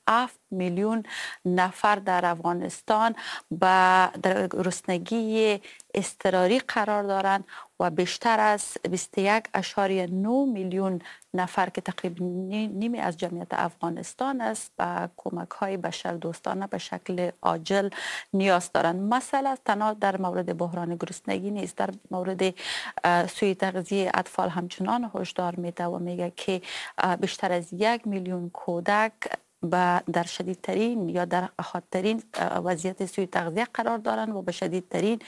7 میلیون نفر در افغانستان با در گرسنگی اضطراری قرار دارند و بیشتر از 21.9 میلیون نفر که تقریبا نیمی از جمعیت افغانستان است به کمک های بشردوستانه به شکل عاجل نیاز دارند. مسئله تنها در مورد بحران گرسنگی نیست، در مورد سوء تغذیه اطفال همچنان هشدار میده و میگه که بیشتر از 1 میلیون کودک در شدیدترین یا در حادترین وضعیت سوء تغذیه قرار دارند و به شدیدترین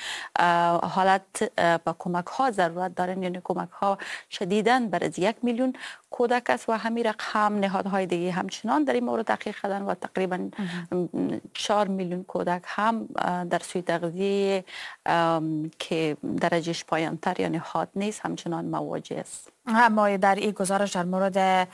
حالت به کمک ها ضرورت دارند، یعنی کمک ها شدیداً بر از 1 میلیون کودک است و همین رقم نهادهای دیگه همچنان در این مورد تحقیق کردن و تقریبا 4 میلیون کودک هم در سوء تغذیه که درجهش پایان‌تر یعنی حاد نیست همچنان مواجه است. اما در این گزارش در مورد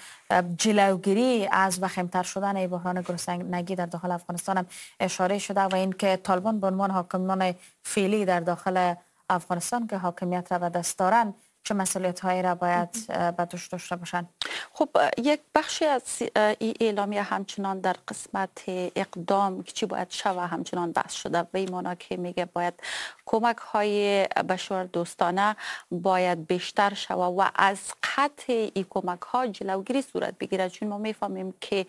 جلوگیری از وخیم‌تر شدن بحران گرسنگی در داخل افغانستان هم اشاره شده و اینکه طالبان به عنوان حاکمان فعلی در داخل افغانستان که حاکمیت را به دست دارند چه مسئولیت‌هایی را باید به دوش داشته باشند؟ خب یک بخشی از این اعلامیه همچنان در قسمت اقدام که چی باید شوه همچنان بحث شده به این معنا که میگه باید کمک های بشر دوستانه باید بیشتر شوه و از قطع این کمک ها جلوگیری صورت بگیره، چون ما میفهمیم که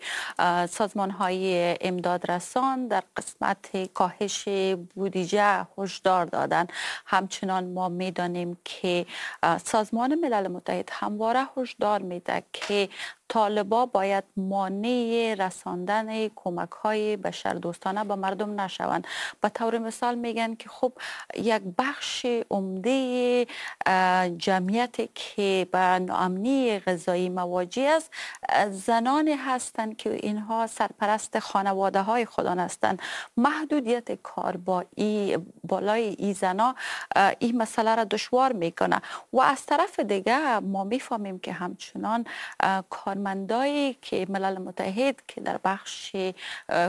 سازمان های امداد رسان در قسمت کاهش بودجه هشدار دادن. همچنان ما میدانیم که سازمان ملل متحد همواره هشدار میده که طالبا باید مانع رساندن کمک های بشردوستانه به مردم نشوند. به طور مثال میگن که خب یک بخش عمده جمعیت که به ناامنی غذایی مواجه است زنان هستند که اینها سرپرست خانواده های خودان هستند. محدودیت کار با بالای ای زنا این مسئله را دشوار میکنه و از طرف دیگه ما میفهمیم که همچنان کارمندایی که ملل متحد که در بخش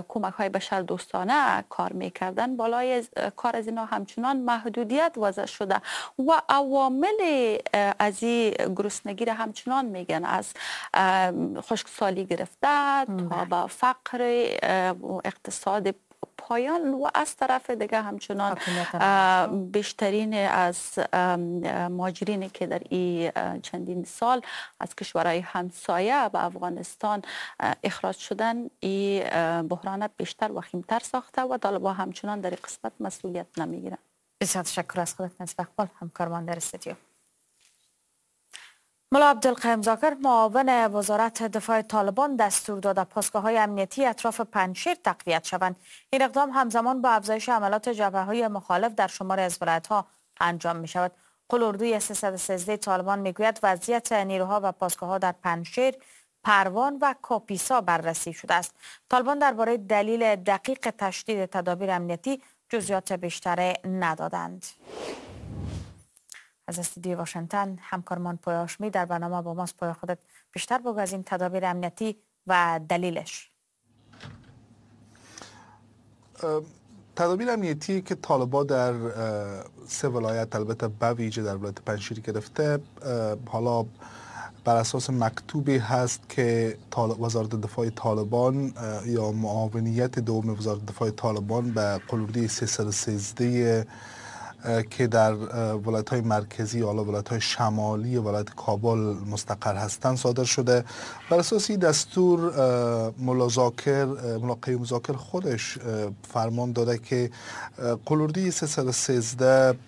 کمک های بشر دوستانه کار میکردن بالای کار از اینا همچنان محدودیت وضع شده و عوامل از این گرسنگی را همچنان میگن، از خشکسالی گرفته تا به فقر و اقتصاد پایان و از طرف دیگه همچنان بیشترین از مهاجرین که در این چندین سال از کشورهای همسایه به افغانستان اخراج شدن این بحران بیشتر وخیمتر ساخته و طالبان همچنان در این قسمت مسئولیت نمیگیرن. بسیار تشکر از خودت نصیب اقبال، همکارمان در استودیو. ملا عبدالقیم ذاکر معاون وزارت دفاع طالبان دستور داده پاسگاه‌های امنیتی اطراف پنجشیر تقویت شوند. این اقدام همزمان با افزایش عملات جبهه‌های مخالف در شماری از ولایت‌ها انجام می‌شود. قول اردوی 313 طالبان می‌گوید وضعیت نیروها و پاسگاه‌ها در پنجشیر، پروان و کاپیسا بررسی شده است. طالبان درباره دلیل دقیق تشدید تدابیر امنیتی جزئیات بیشتر ندادند. از استودیو واشنگتن همکارمان پویا هاشمی در برنامه با ماست. پویا، خودت بیشتر بگو از این تدابیر امنیتی و دلیلش. تدابیر امنیتی که طالبان در سه ولایت، البته به ویژه در ولایت پنجشیر گرفته، حالا بر اساس مکتوبی هست که وزارت دفاع طالبان یا معاونیت دوم وزارت دفاع طالبان به قلوردی 313 که در ولایت‌های مرکزی یا ولایت‌های شمالی ولایت کابل مستقر هستند صادر شده. بر اساس این دستور ملا قیوم ذاکر خودش فرمان داده که قلوردی 313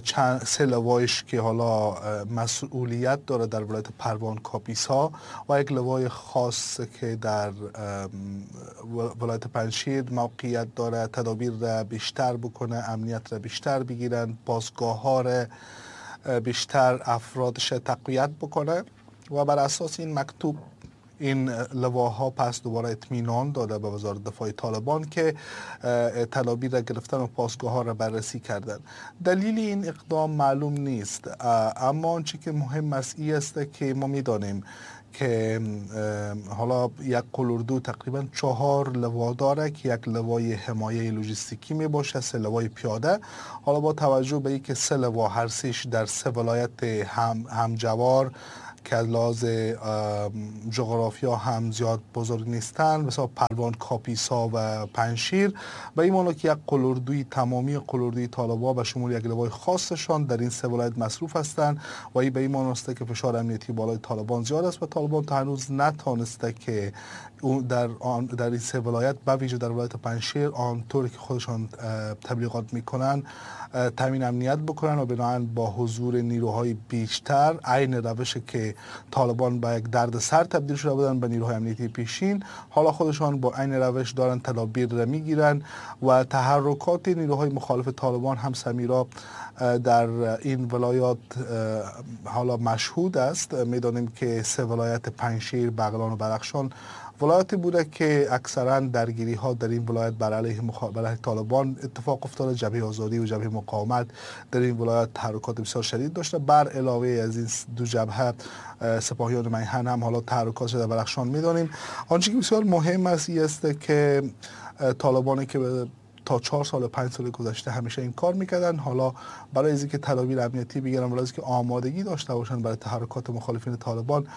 چند سه لوایش که حالا مسئولیت داره در ولایت پروان کاپیسا و یک لوای خاص که در ولایت پنجشیر موقعیت داره تدابیر را بیشتر بکنه، امنیت را بیشتر بگیرن، پاسگاه ها را بیشتر افرادش تقویت بکنه و بر اساس این مکتوب این لواها پس دوباره اطمینان داده به وزارت دفاع طالبان که تدابیر را گرفتن و پاسگاه ها را بررسی کردن. دلیل این اقدام معلوم نیست، اما آنچه که مهم است این است که ما میدانیم که حالا یک قلوردو تقریبا 4 لوا داره که یک لوای حمایه لوجستیکی می باشه، 3 لوای پیاده. حالا با توجه به اینکه 3 لوا هر سه‌ش در 3 ولایت همجوار که از لحاظ جغرافیا هم زیاد بزرگ نیستن، مثلا پروان، کاپیسا و پنجشیر، به این معنی که یک قلوردوی، تمامی قلوردوی طالبان به شمول یک لوای خاصشان در این سه ولایت مصروف هستند و این به این معنی است که فشار امنیتی بالای طالبان زیاد است و طالبان تا هنوز نتانسته که در این سه ولایت، به ویژه در ولایت پنجشیر، آنطور که خودشان تبلیغات میکنن تامین امنیت بکنن و بنابراین با حضور نیروهای بیشتر، عین روش که طالبان به یک درد سر تبدیل شده بودن به نیروهای امنیتی پیشین، حالا خودشان با عین روش دارن تدابیر را میگیرن و تحرکات نیروهای مخالف طالبان هم سمیرا در این ولایات حالا مشهود است. میدانیم که سه ولایت پنجشیر، بغلان و بدخشان ولایتی بوده که اکثرا درگیری ها در این ولایت بر علیه طالبان اتفاق افتاده. جبهه آزادی و جبهه مقاومت در این ولایت تحرکات بسیار شدید داشته. بر علاوه از این دو جبهه، سپاهیان میهن هم حالا تحرکات شده بدخشان میدانیم. آنچه که بسیار مهم است این است که طالبانی که تا 4 سال 5 سال گذشته همیشه این کار میکردن، حالا برای اینکه تدابیر امنیتی بگیرن، برای اینکه آمادگی داشته باشن برای تحرکات مخالفین طالبان،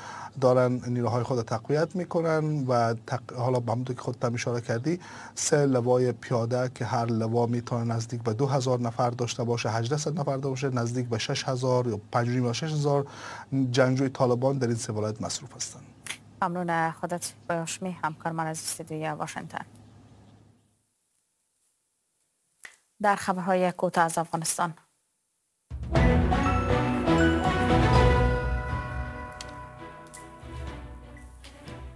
دارن نیروهای خود تقویت میکنن و حالا به همونطور که خودت اشاره کردی، 3 لوای پیاده که هر لوا میتونه نزدیک به 2000 نفر داشته باشه، 1800 نفر داشته باشه، نزدیک به 6000 یا 5.5 یا 6000 جنگجوی طالبان در این سه ولایت مصروف هستند. ممنون خودت باشمی، همکار من از استودیوی واشنگتن. در خبرهای کوتاه از افغانستان،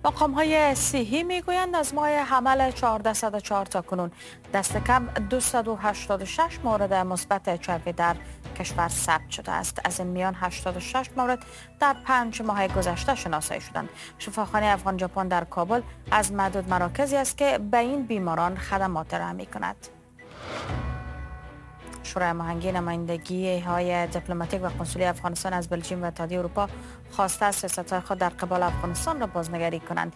مقام‌های صحی میگویند از ماه حمل 1404 تا کنون دست کم 286 مورد مثبت HIV در کشور ثبت شده است. از این میان 86 مورد در 5 ماه گذشته شناسایی شدند. شفاخانه افغان ژاپن در کابل از معدود مراکزی است که به این بیماران خدمات ارائه می‌کند. شورای هماهنگی نمایندگی های دیپلماتیک و قنسولی افغانستان از بلژیم و اتحادیه اروپا خواسته است سیاست‌های خود در قبال افغانستان را بازنگری کنند.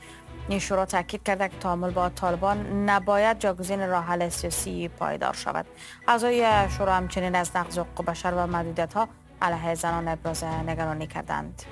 این شورا تاکید کرده که تعامل با طالبان نباید جاگزین راه حل سیاسی پایدار شود. اعضای شورا همچنین از نقض حقوق بشر و محدودیت‌ها علیه زنان ابراز نگرانی کردند.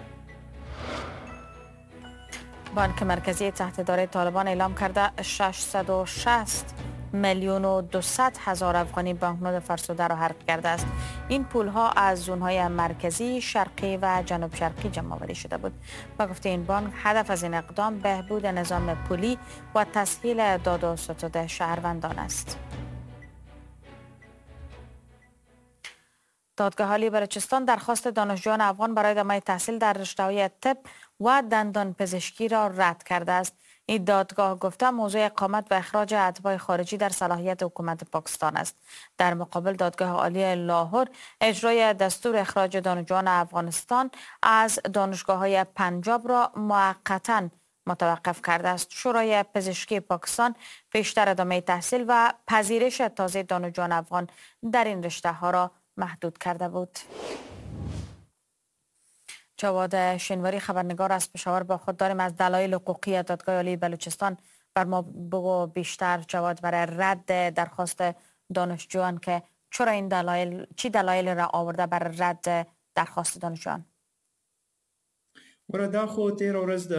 بانک مرکزی تحت اداره طالبان اعلام کرده 660,200,000 افغانی بانکنوت فرسوده را حرق کرده است. این پولها از زون‌های مرکزی، شرقی و جنوب شرقی جمع‌آوری شده بود. با گفته این بانک هدف از این اقدام بهبود نظام پولی و تسهیل داد و ستد شهروندان است. دادگاه عالی بلوچستان درخواست دانشجویان افغان برای ادامه تحصیل در رشته‌های طب و دندان پزشکی را رد کرده است. این دادگاه گفته موضوع اقامت و اخراج اتباع خارجی در صلاحیت حکومت پاکستان است. در مقابل دادگاه عالی لاهور اجرای دستور اخراج دانشجویان افغانستان از دانشگاه‌های پنجاب را موقتاً متوقف کرده است. شورای پزشکی پاکستان پیشتر ادامه تحصیل و پذیرش تازه دانشجویان افغان در این رشته‌ها را محدود کرده بود. جواد شنواری خبرنگار از پشاور با خود داریم. از دلایل حقوقی دادگاه عالی بلوچستان بر ما بگو بیشتر جواد، برای رد درخواست دانشجویان که چرا این دلایل، چی دلایل را آورده برای رد درخواست دانشجویان؟ ګوره دا خو تېره ورځ د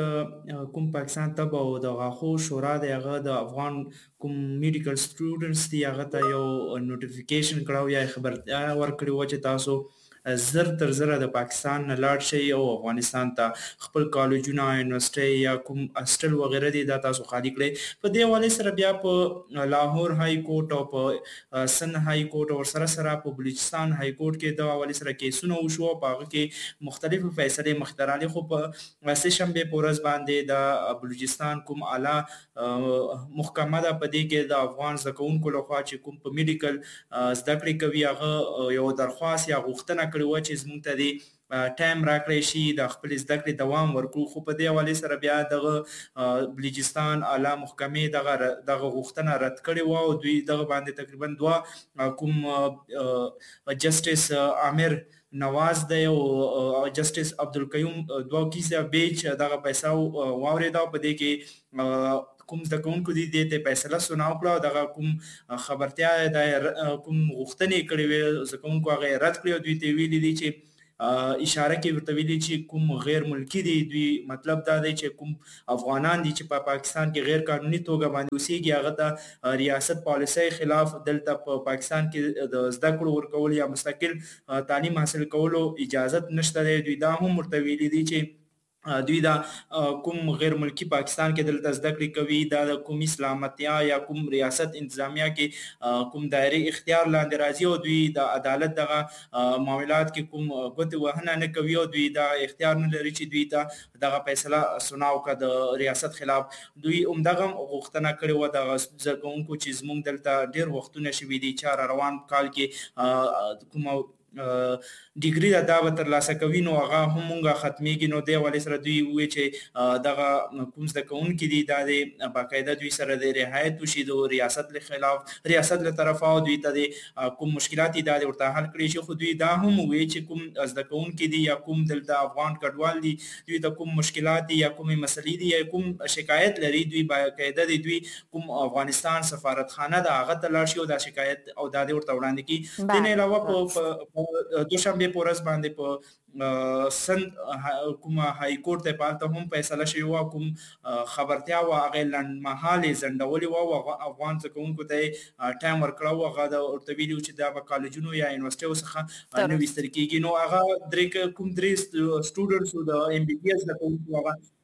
کوم پاکستان طب او د غاښو شورا د هغه د افغان کوم medical students دي هغه ته یو notification کړه او یا خبرتیا ورکړې وه چې تاسو زر تر زره د پاکستان نه لاړ شئ او افغانستان ته خپل کالجونه، یونیورسټۍ یا کوم هاسټل وغیره دي دا تاسو خالي کړئ. په دې حوالې سره بیا په لاهور های کورټ او په سند های کورټ او سره سره په بلوچستان های کورټ کې دا حوالې سره کیسونه وشو او په هغه کې مختلفې فیصلې مخې ته راغلې. خو په سې شنبې په ورځ باندې د بلوچستان کوم اعلی محکمه ده په دې کې د افغان زده کوونکو لخوا چې کوم په medical زده کړې کوي هغه یو درخواست یا غوښتنه کړې وه چې زموږ ته دې time راکړی شي د خپلې زده کړې دوام ورکړو. خو په دې حوالې سره بیا دغه بلوچستان اعلی محکمې دغه غوښتنه رد کړې وه او دوی دغه باندې تقریبا دوه کوم جسټس عامر نواز دی او جسټس عبدالقیوم دوه کیسه بیچ دغه پیسه واورېده او په دې کې کوم زده کوونکو دي دې ته فیصله سنا وکړه او دغه کوم خبرتیا د کوم غوښتنې کړې وې زده کوونکو هغه یې رد کړې او دوی ته ویلي دي چې اشاره کې ورته ویلي چې کوم غیر ملکی دي، دوی مطلب دا دی چې کوم افغانان دي چې په پاکستان کې غیر قانوني توګه باندې اوسېږي هغه ته ریاست پالیسۍ خلاف دلته په پاکستان کې د زده کړو ورکول یا مستقل تعلیم حاصل کولو اجازت نشته دی. دوی دا هم ورته ویلي دي چې دوی دا کوم غیر ملکی پاکستان کې دلته زده کړې کوي دا د کوم اسلامتیا یا کوم ریاست انتظامیه کې کوم دایره اختیار لاندې راځي او دوی د عدالت دغه معاملات کې کوم ګوتې وهنه نه کوي او دوی دا اختیار نه لري چې دوی ته دغه فیصله سناو که د ریاست خلاف. دوی همدغه غوښتنه کړې وه دغه زده کوونکو چې زموږ دلته ډېر وختونه شوي دي چې روان کال کې کومه ډیګري ده دا به ترلاسه کوي نو هغه هم مونږه ختمیږي. نو دې حوالې سره دوی وویل چې دغه کوم زده کوونکي دي دا دې باقاعده دوی سره د رعایت وشي د ریاست له خلاف ریاست له طرفه او دوی ته دې کوم مشکلات دي دا دې ورته حل کړی شي. خو دوی دا هم وویل چې کوم زده کوونکي دي یا کوم دلته افغان کډوال دي دوی ته کوم مشکلات دي یا کومې مسلې دي یا کوم شکایت لري دوی باقاعده دې دوی کوم افغانستان سفارتخانه ده هغه ته لاړ شي او دا شکایت او دا دې ورته وړاندې کړي. دې نه علاوه په دوشنبه په ورځ باندې په سند کومه های کورټ ته په هلته هم فیصله شوې وه، کوم خبرتیا وه هغه یې لنډمهالې ځنډولې وه او افغان زده کوونکو ته یې ټایم ورکړی و، هغه ورته ویلي وو چې دا به کالجونو یا یونیورسټیو څخه نه ویستل کېږي. نو هغه درې کوم درې سټوډنټس د ایم بي بي اس زده کوونکو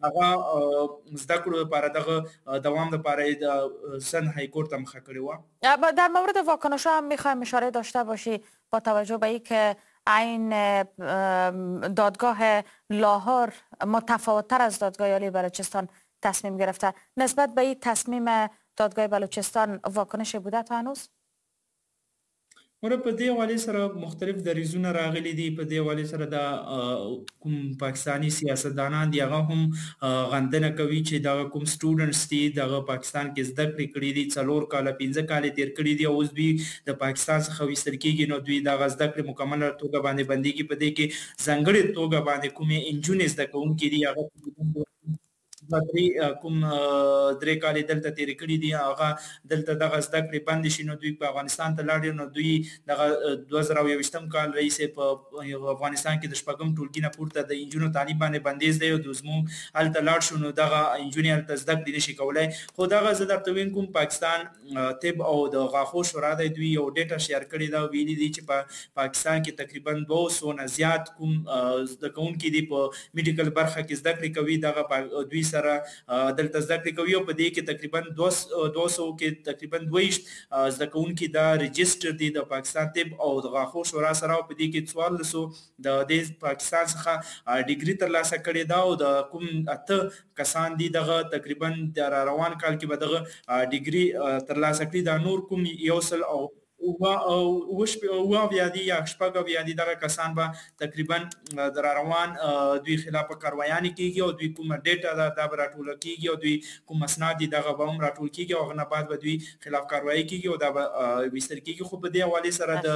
هغه زده کړو لپاره دغه دوام لپاره یې د سند های کورټ ته مخه کړې وه. در مورد واکنش‌ها هم میخوایم اشاره داشته باشی با توجه به اینکه عین دادگاه لاهور متفاوت‌تر از دادگاه عالی بلوچستان تصمیم گرفته، نسبت به این تصمیم دادگاه بلوچستان واکنش بوده تا هنوز؟ ور په دې حوالې سره مختلف دریځونه راغلي دي. په دې حوالې سره د کوم پاکستاني سیاستدانان دي هغه هم غندنه کوي چې دغه کوم سټوډنټس دي دغه پاکستان کې زده کړې کړې دي، 4 کاله 5 کاله تیر کړي دي او اوس دوی د پاکستان څخه ویستل کېږي نو دوی دغه زده کړې مکمله توګه باندې بندېږي. په دې کې ځانګړې توګه باندې کومې انجونې زده کوونکې دي هغه کوم 3 کالې دلته تېرې کړي دي هغه دلته دغه زده کړې بندې شي نو دوی په افغانستان ته لاړې نو دوی دغه 2021 کال راهیسې په افغانستان کې د 6 ټولګي نه پورته د انجونو تعلیم باندې بندیز دی او زموږ هلته لاړ شو نو دغه انجونې هلته زده کړې نشي کولی. خو دغه زه درته ویم کوم پاکستان طب او د غاښو شورا دی دوی یو ډیټا شیر کړې ده، ویلي دي چې په پاکستان کې تقریبا 200 نه زیات کوم زده کوونکي دي په میډیکل برخه کې زده کړې کوي دغه دوی سره دلته زده کړې کوي او په دې کې تقریبا 200 کې تقریبا 22 زده کوونکي دا رجسټر دي د پاکستان طب او د غاښو شورا سره او په دې کې 1400 د دې پاکستان څخه ډیګري ترلاسه کړې ده او د کوم 8 کسان دي دغه تقریبا د روان کال کې به دغه ډیګري ترلاسه کړي. دا نور کوم 177 دي یا 76 دي دغه کسان به تقریبا د روان دوی خلاف کاروایانې کېږي او دوی کومه ډیټا ده دا به راټوله کېږي او دوی کوم اسناد دي دغه به هم راټول کېږي او هغه نه بعد به دوی خلاف کاروایي کېږي او دا به ویستل کېږي. خو په دې حوالې سره د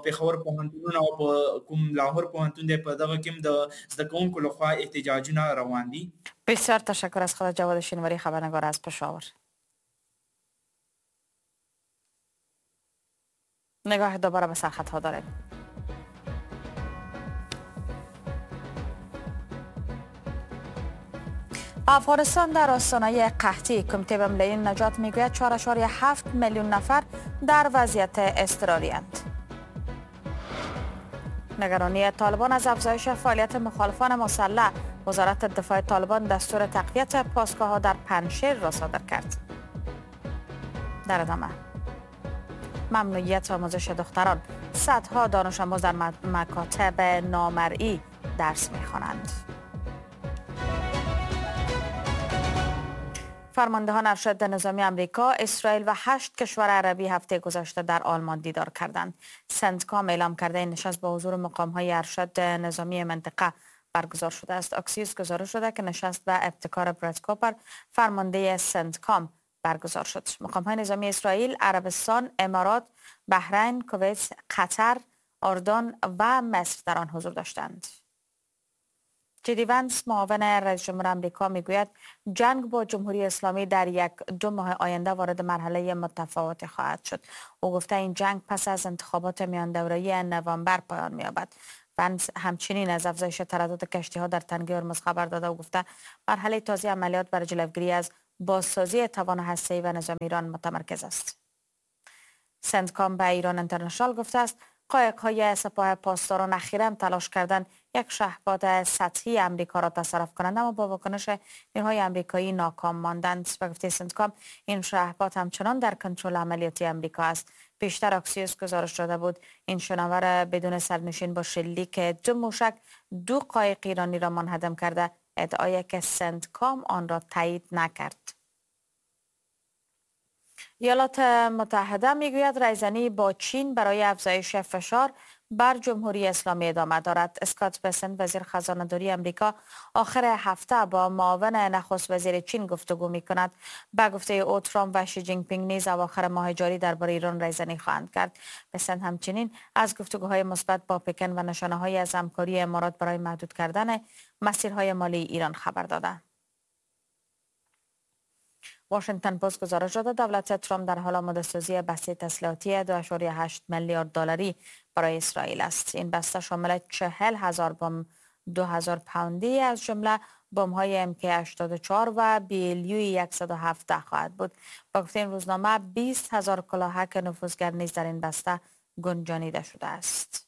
پېښور پوهنتونونه او په کوم لاهور پوهنتون دی په دغه کې هم د زده کوونکو لخوا احتجاجونه روان دي. بسیار تشکر از خدا جواد شینواری، خبرنگار از پشاور. نگاه دوباره به سرخطها داریم. افغانستان در آستانه قحطی، کمیته ملی نجات میگوید 4.7 میلیون نفر در وضعیت اضطراری اند. نگرانی طالبان از افزایش فعالیت مخالفان مسلح، وزارت دفاع طالبان دستور تقویت پاسگاه‌ها در پنجشیر را صادر کرد. در ادامه ممنوعیت آموزش دختران، صدها دانش آموز در مکاتب نامرئی درس می‌خوانند. فرماندهان ارشد نظامی امریکا، اسرائیل و 8 کشور عربی هفته گذشته در آلمان دیدار کردند. سنتکام اعلام کرده این نشست با حضور مقام‌های ارشد نظامی منطقه برگزار شده است. اکسیوس گزارش شده که نشست به ابتکار براد کوپر فرمانده سنتکام برگزار شد. مقام‌های نظامی اسرائیل، عربستان، امارات، بحرین، کویت، قطر، اردن و مصر در آن حضور داشتند. جی‌دی ونس معاون رئیس جمهور آمریکا میگوید جنگ با جمهوری اسلامی در 1-2 ماه آینده وارد مرحله متفاوتی خواهد شد. او گفته این جنگ پس از انتخابات میان دوره‌ای نوامبر پایان می‌یابد. ونس همچنین از افزایش تردد کشتی‌ها در تنگه هرمز خبر داده و گفته مرحله تازه عملیات برای جلوگیری از بازسازی توان هسته‌ای و نظامی ایران متمرکز است. سنتکام به ایران اینترنشنال گفته است قایق‌های سپاه پاسداران اخیراً تلاش کردند یک شهباد سطحی امریکا را تصرف کنند، اما با واکنش نیروهای امریکایی ناکام ماندند. به گفته سنتکام این شهباد همچنان در کنترل عملیاتی امریکا است. بیشتر اکسیوس گزارش داده بود این شناور بدون سرنشین با شلیک 2 موشک 2 قایق ایرانی را منهدم کرده، ادعایی که سنتکام آن را تایید نکرد. ایالات متحده میگوید رایزنی با چین برای افزایش فشار بر جمهوری اسلامی ادامه دارد. اسکات بسنت وزیر خزانه‌داری امریکا آخر هفته با معاون نخست وزیر چین گفتگو میکند. به گفته او ترامپ و شی جین پینگ نیز اواخر ماه جاری درباره ایران رایزنی خواهند کرد. بسنت همچنین از گفتگوهای مثبت با پکن و نشانه‌های از همکاری امارات برای محدود کردن مسیرهای مالی ایران خبر داده. واشنگتن پست گزارش داده دولت ترامپ در حال آماده‌سازی بسته تسلیحاتی 2.8 میلیارد دلاری برای اسرائیل است. این بسته شامل 40,000 بمب 2000 پوندی از جمله بمب‌های MK84 و BLU 117 خواهد بود. با گفته این روزنامه 20,000 کلاهک نفوذگر نیز در این بسته گنجانیده شده است.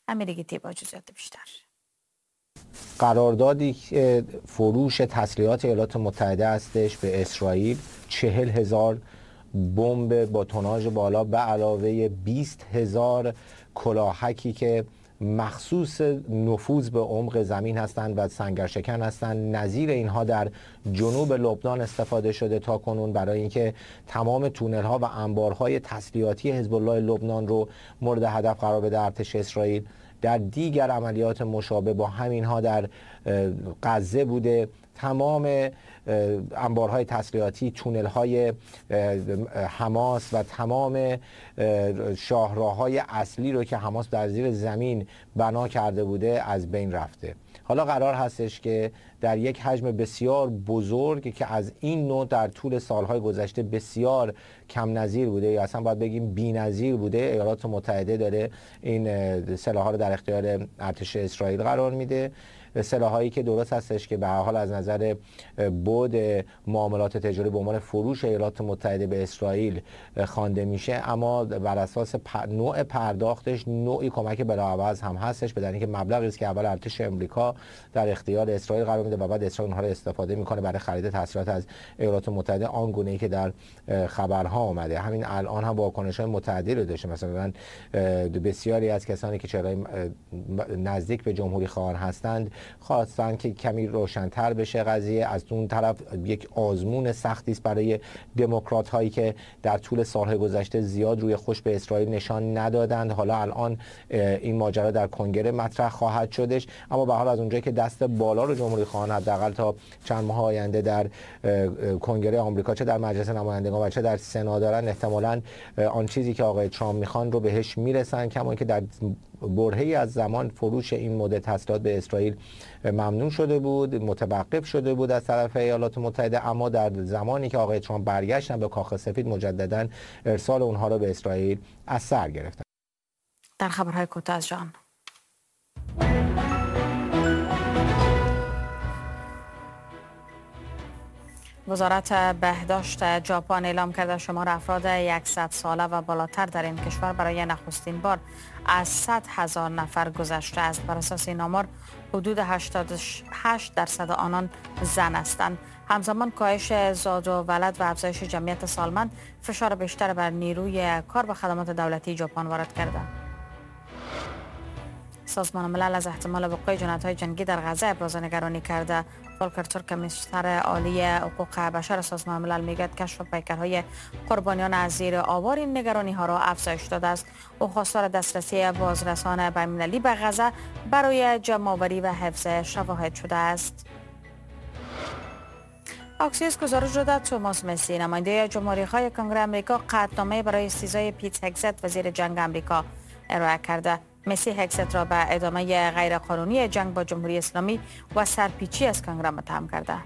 امیرگیتی با جزئیات بیشتر. قراردادی که فروش تسلیحات ایالات متحده هستش به اسرائیل، 40,000 بمب با توناژ بالا به علاوه 20,000 کلاهکی که مخصوص نفوذ به عمق زمین هستند و سنگرشکن هستند، نظیر اینها در جنوب لبنان استفاده شده تا کنون برای اینکه تمام تونل‌ها و انبارهای تسلیحاتی حزب الله لبنان رو مورد هدف قرار بده ارتش اسرائیل. در دیگر عملیات مشابه با همینها در غزه بوده، تمام انبارهای تسلیحاتی، تونل‌های حماس و تمام شاهراه‌های اصلی رو که حماس در زیر زمین بنا کرده بوده از بین رفته. حالا قرار هستش که در یک حجم بسیار بزرگ که از این نوع در طول سالهای گذشته بسیار کم نظیر بوده یا اصلا باید بگیم بی‌نظیر بوده، ایالات متحده داره این سلاح‌ها رو در اختیار ارتش اسرائیل قرار میده. سلاحایی که درست هستش که به هر حال از نظر بعد معاملات تجاری به عنوان فروش ایالات متحده به اسرائیل خوانده میشه، اما بر اساس نوع پرداختش نوعی کمک بلاعوض هم هستش، به دلیل اینکه مبلغی است که اول ارتش امریکا در اختیار اسرائیل قرار میده و بعد اسرائیل اونها رو استفاده میکنه برای خرید تسلیحات از ایالات متحده، آن گونه ای که در خبرها آمده. همین الان هم واکنش‌های متعددی رو داشته، مثلا بسیاری از کسانی که چهره‌های نزدیک به جمهوری خواهان هستند خواستن که کمی روشن‌تر بشه قضیه. از اون طرف یک آزمون سختی است برای دموکرات هایی که در طول سال‌های گذشته زیاد روی خوش به اسرائیل نشان ندادند. حالا الان این ماجرا در کنگره مطرح خواهد شدش، اما به حال از اونجایی که دست بالا رو جمهوری خواهان حداقل تا چند ماه آینده در کنگره آمریکا، چه در مجلس نمایندگان و چه در سنا دارن، احتمالاً آن چیزی که آقای ترامپ میخوان رو بهش میرسن، کما اینکه در برهه‌ای از زمان فروش این مدل تسلیحات به اسرائیل ممنوع شده بود، متوقف شده بود از طرف ایالات متحده، اما در زمانی که آقای ترامپ برگشتن به کاخ سفید مجددا ارسال اونها را به اسرائیل از سر گرفتن. در خبرهای کوتاه از جهان، وزارت بهداشت ژاپن اعلام کرده شمار افراد 100 ساله و بالاتر در این کشور برای نخستین بار از 100,000 نفر گذشته است. بر اساس این آمار حدود 88% آنان زن هستند. همزمان کاهش زاد و ولد و افزایش جمعیت سالمند فشار بیشتر بر نیروی کار و خدمات دولتی ژاپن وارد کرده. سازمان ملل از احتمال وقوع جنایت‌های جنگی در غزه ابراز نگرانی کرده. فولکر ترک کمیسر عالی حقوق بشر سازمان ملل میگوید کشف پیکرهای قربانیان از زیر آوار این نگرانی ها را افزایش داده است. او خواستار دسترسی بازرسان بین‌المللی به غزه برای جمع‌آوری و حفظ شواهد شده است. اکسیوس گزارش داده توماس مسی نماینده جمهوری‌خواه کنگره آمریکا قطعنامه برای استیضاح پیت هگزت وزیر جنگ آمریکا ارائه کرده. مسی هگزت را به ادامه غیرقانونی جنگ با جمهوری اسلامی و سرپیچی از کنگره متهم کرده.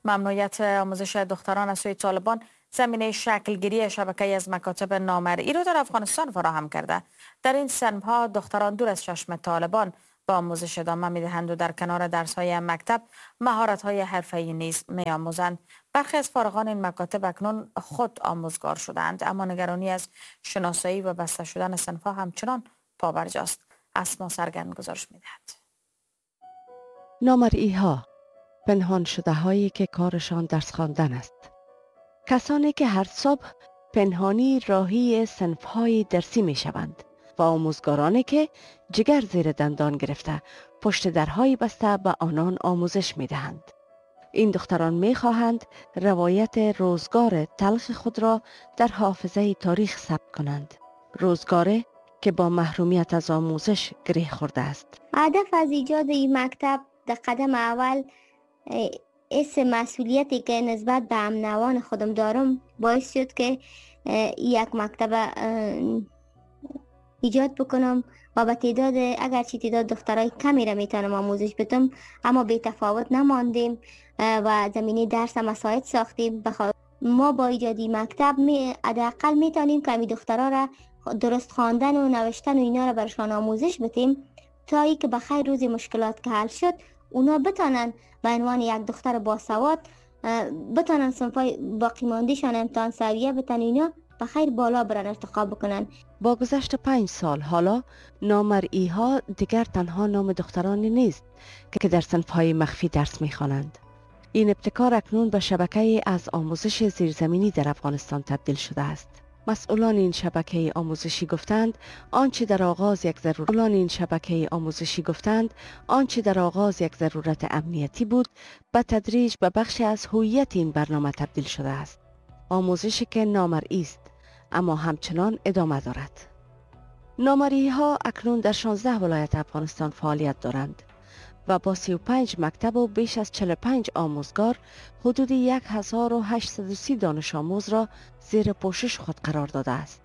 ممنوعیت آموزش دختران از سوی طالبان زمینه شکلگیری شبکه از مکاتب نامرئی را در افغانستان فراهم کرده. در این صنف‌ها دختران دور از چشم طالبان با آموزش ادامه می‌دهند و در کنار درس‌های مکتب مهارت‌های حرفه‌ای نیز می‌آموزند. برخی از فارغان این مکاتب اکنون خود آموزگار شدند، اما نگرانی از شناسایی و بسته شدن صنف‌ها همچنان پابرجاست. اسما سرگند گزارش می‌دهد. نامرئی‌ها، پنهان شده هایی که کارشان درس خواندن است. کسانی که هر صبح پنهانی راهی صنف‌های درسی می‌شوند و آموزگارانی که جگر زیر دندان گرفته پشت درهای بسته به آنان آموزش می‌دهند. این دختران می‌خواهند روایت روزگار تلخ خود را در حافظه تاریخ ثبت کنند. روزگاری که با محرومیت از آموزش گره خورده است. هدف از ایجاد این مکتب در قدم اول اس مسئولیتی که نسبت به همنوان خودم دارم باعث شد که یک مکتب ایجاد بکنم و به تعداد، اگرچه تعداد دخترای کمی را میتونم آموزش بدم، اما بی تفاوت نماندیم و زمینه درس مساعد ساختیم. ما با ایجاد مکتب حداقل میتونیم که می دخترها را درست خواندن و نوشتن و اینا را برشان آموزش بدیم تا ای که بخیر روز مشکلات که حل شد اونا بتانن به عنوان یک دختر باسواد بتانن صنفای باقی ماندهشان امتحان سویه بتن اینا بخیر بالا برن ارتقا بکنن. با گذشت 5 سال حالا نامرئی ها دیگر تنها نام دخترانی نیست که در صنف‌های مخفی درس میخوانند. این ابتکار اکنون به شبکه از آموزش زیرزمینی در افغانستان تبدیل شده است. مسئولان این شبکه آموزشی گفتند آنچه در آغاز یک ضرورت امنیتی بود به تدریج به بخشی از هویت این برنامه تبدیل شده است. آموزشی که نامرئی است اما همچنان ادامه دارد. نامرئی ها اکنون در 16 ولایت افغانستان فعالیت دارند و با 35 مکتب و بیش از 45 آموزگار حدود 1830 دانش آموز را زیر پوشش خود قرار داده است.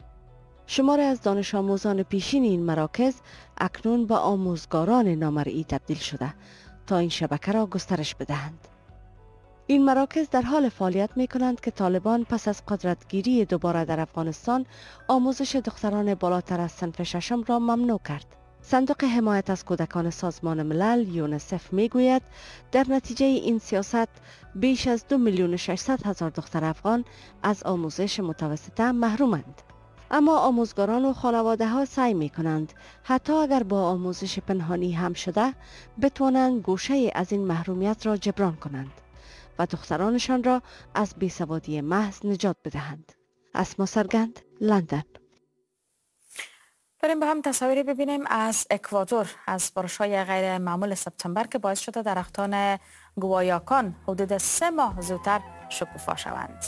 شماری از دانش آموزان پیشین این مراکز اکنون به آموزگاران نامرئی تبدیل شده تا این شبکه را گسترش بدهند. این مراکز در حال فعالیت می کنند که طالبان پس از قدرتگیری دوباره در افغانستان آموزش دختران بالاتر از صنف ششم را ممنوع کرد. صندوق حمایت از کودکان سازمان ملل یونیسف می گوید در نتیجه این سیاست بیش از 2,600,000 دختر افغان از آموزش متوسطه محرومند. اما آموزگاران و خانواده ها سعی می کنند حتی اگر با آموزش پنهانی هم شده بتوانند گوشه از این محرومیت را جبران کنند و دخترانشان را از بیسوادی محض نجات بدهند. اسما سرگند، لندن. بریم با هم تصاویری ببینیم از اکوادور، از بارش‌های غیر معمول سپتامبر که باعث شده درختان گوایاکان حدود 3 ماه زودتر شکوفا شوند.